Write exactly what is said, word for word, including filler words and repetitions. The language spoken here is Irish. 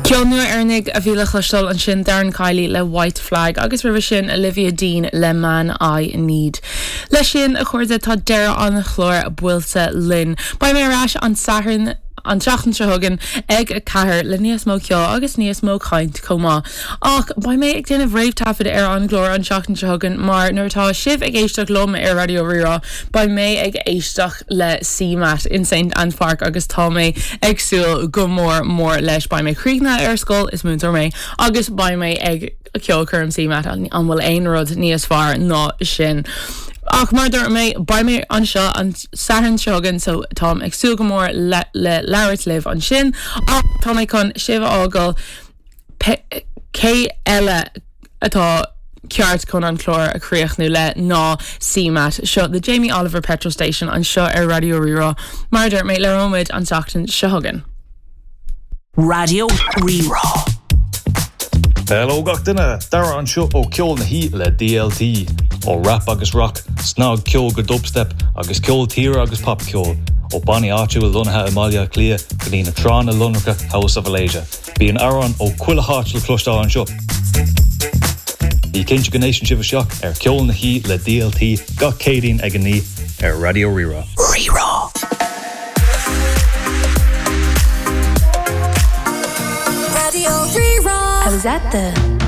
Ceol nua Éireannach a bhí le cloisteáil ansin Darren Kiely le White Flag agus roimhe sin Olivia Dean le Man I Need. Leis sin a chairde tá deireadh an chláir buailte linn. Beidh mé ar ais an Satharn an tseachtain seo chugainn ag a ceathair le níos mó ceoil agus níos mó caint chomh maith. Ach beidh mé ag déanamh réamhthaifead ar an gclár an tseachtain seo chugainn mar nuair atá sibh ag éisteacht liom ar Raidió Rí-Rá, beidh mé ag éisteacht le CMAT in St Anne's Park agus tá mé ag súil go mór mór leis beidh mé críochnaithe ar scoil is múinteoir mé agus beidh mé ag ceolchoirm CMAT an bhfuil aon rud níos fearr ná sin. Ach mar dúirt mé beidh mé anseo an Satharn seo chugainn so táim ag súil go mór le le labhairt libh ansin ach tá mé chun sibh a fhágáil cé eile atá ceart chun an clár a chríochnú le ná CMAT seo the Jamie Oliver Petrol Station anseo ar Raidió Rí-Rá mar dúirt mé labhróimid an tseachtain seo chugainn. Raidió Rí-Rá. Hello gach duine Dara anseo ó Ceol na hOíche le DLT ó rap agus rock, snagcheol go dubstep agus ceol tíre agus popcheol ó bannaí áitiúil lonnaithe i mBaile Átha Cliath go dtí na tránna lonracha House of Alasia. Bíonn amhráin ó chuile háit le cloisteáil anseo. Bí cinnte go n-éisteann sibh isteach ar Ceol na hOíche le DLT gach Céadaoin ag a naoi ar Raidió Rí-Rá. Rí-Rá. Raidió Rí-Rá. I was at the